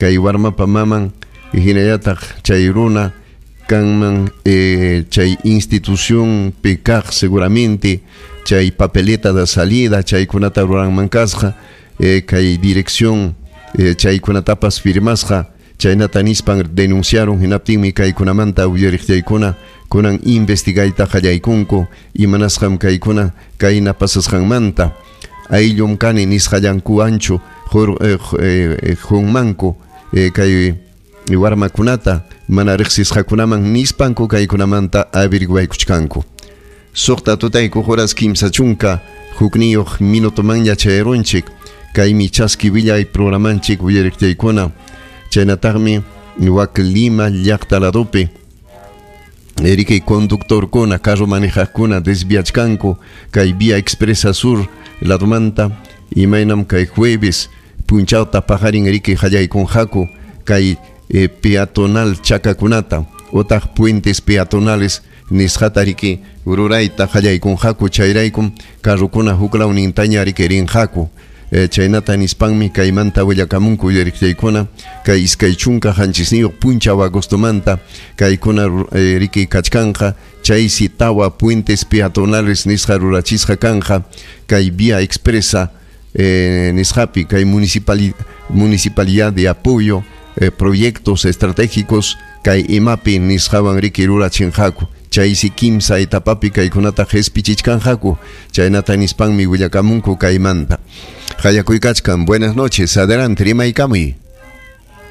Kay warmapa maman hinallataq chay runa kanman chay institución kaq seguramente chay papeleta de salida chaykunata ruranman kasqa kay dirección chaykunatapas firmasqa chaynata nispan denunciaron hinaptinmi kaykunamanta uyariqchaykuna kunan investigayta qallaykunku imanasqam kaykuna kayna pasasqanmanta ayllum kani nisqallankuwanchu junmanku kay warmakunata mana riqsisqakunaman nispanku kaykunamanta averiguaykuchkanku. Suqta tutayku horas 31 minutomanña chayarunchik kaymi chaski willay programanchik uyariqchaykuna chaynataqmi wak Lima llaqta ladopi erikay conductorkuna carro manejaqkuna desviachkanku kay vía expresa sur ladomanta imaynam kay jueves punchawta paqarin erikay qallaykunqaku kay peatonal chakakunata otaq puentes peatonales nisqata riki rurayta qallaykunqaku chayraykum carrokuna huklawnintaña riki rinqaku chaynata nispanmi kaymanta willakamunku uyariqchaykuna kay 27 punchaw agostomanta kaykuna riki kachkanqa chaysi tawa puentes peatonales nisqa rurachisqa kanqa kay vía expresa nisqapi kay municipalidad de apoyo proyectos estratégicos kay imapi nisqawan riki rurachinqaku chaysi kimsa etapapi kaykunata qhispichichkanqaku chaynata nispanmi willakamunku kaymanta. Hayakuykachkan, buenas noches, adelante, rimaykamuy.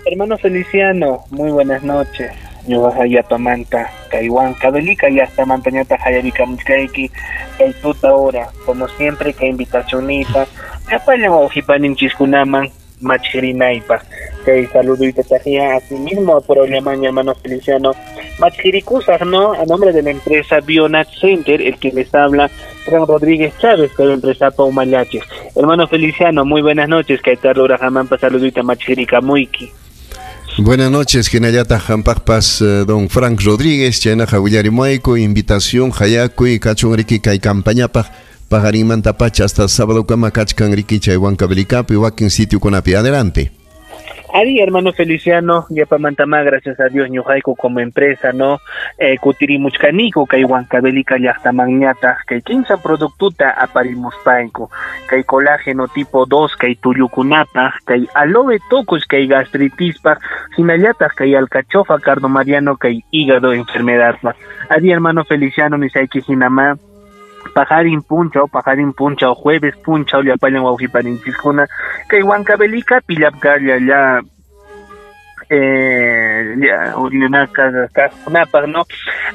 Hermano Feliciano, muy buenas noches. Ñuqa yapamanta kay Huancavelica llaqtamantañataq hayarikamuchkayki kay tuta hora, como siempre kay invitacionita llapallan wawqipaninchikkunaman machqirinaypaq. Kay saluduyta tajía así mismo por Alemania, hermano Feliciano. Machqirikusaq, ¿no? A nombre de la empresa Bionat Center, el que les habla, Fran Rodríguez Chávez, de la empresa Paumayaches. Hermano Feliciano, muy buenas noches. Kay tarlura hamampa saluduyta machqirikamuiki. Buenas noches, hinallataq hampaqpas don Frank Rodríguez, chaynaqa willarimuayku, invitación hayakuy kachun riki kay campañapaq paqarinmanta pacha hasta sábado kama kachkan riki chay Huancavelicapi wakin sitiokunapi. Adelante. Ari, hermano Feliciano, yapamantama, gracias a Dios, ñuqayku como empresa, ¿no? Kutirimuchkaniku kay Huancavelica llaqtamanñataq kay 15 productuta aparimuspayku, kay colágeno tipo 2, kay tullukunapaq, kay aloe tocos, kay gastritispaq, hinallataq kay alcachofa, cardo mariano, kay hígado enfermedadpaq. Ari, hermano Feliciano, nisayki hinama, pajarin punchaw, jueves punchaw, llapallan wawqipaninchiskuna, kay Huancavelica pillapkalla ya kaqkunapaq, no?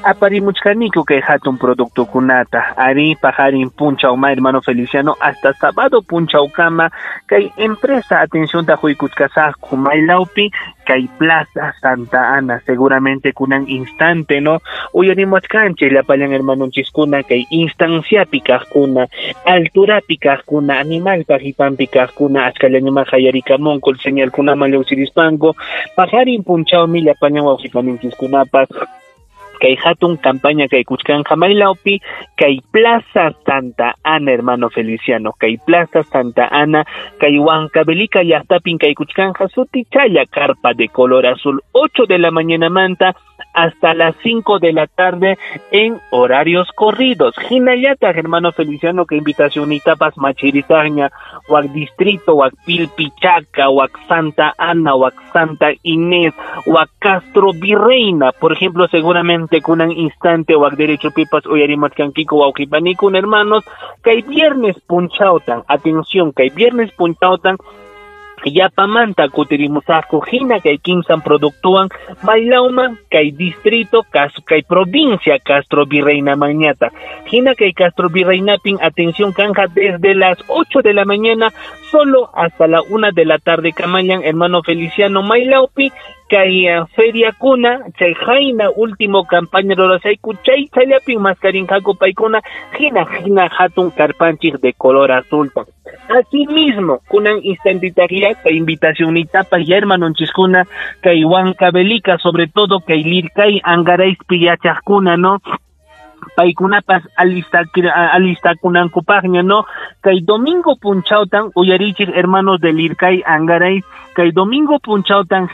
Aparimuchkaniku kay hatun productokunata. Ari pajarin punchaw ma, hermano Feliciano, hasta sábado punchaw kama kay empresa atención ta huykuchkasaqku maylawpi kay Plaza Santa Ana, seguramente kunan instante, no? Uyarimuchkanchik llapallan hermanonchiskuna kay instanciapi kaqkuna, alturapi kaqkuna, animalpa qipanpi kaqkuna, achkallañuma hayarikamunku señalkunaman lluqsirispanku. Pajarin punchawmi llapallan wawqipaninchikkunapas kay hatun campaña kay kuchkanqa maylawpi kay Plaza Santa Ana, hermano Feliciano, kay Plaza Santa Ana, kay Huancavelica llaqtapin kay kuchkanqa sutichalla carpa de color azul, 8 de la mañana manta hasta las 5 de la tarde en horarios corridos. Hinallataq, hermano Feliciano, que invitación itapas machirizaña, huac distrito, huac Pilpichaca, huac Santa Ana, huac Santa Inés, huac Castro Virreina, por ejemplo, seguramente kunan instante huac derecho pipas uyarimatkankiku wawqipanikun, hermanos, kay viernes punchawtan, atención, kay viernes punchawtan, yapamanta kutirimusaqku hina kay kimsan productuwan maylawman kay distrito kay provincia Castro Virreina mañata. Hina kay Castro Virreinapin, atención kanja desde las 8 de la mañana solo hasta la 1 de la tarde kamañan, hermano Feliciano, maylawpi kay feria kuna chay jaina último campaña rurasayku chay chayllapin maskarinqaku paykuna hina hina hatun karpanchik de color azul. Asimismo, kunan instantitaria kay invitación itapa ya hermanonchiskuna kay Huancavelica, sobre todo kay Lircay Angaraispi yachaqkuna, ¿no? Paykunapas alistakunankupaqña, ¿no? Kay domingo punchawtan uyarichik, hermanos del Lircay Angaray, kay domingo punchawtan.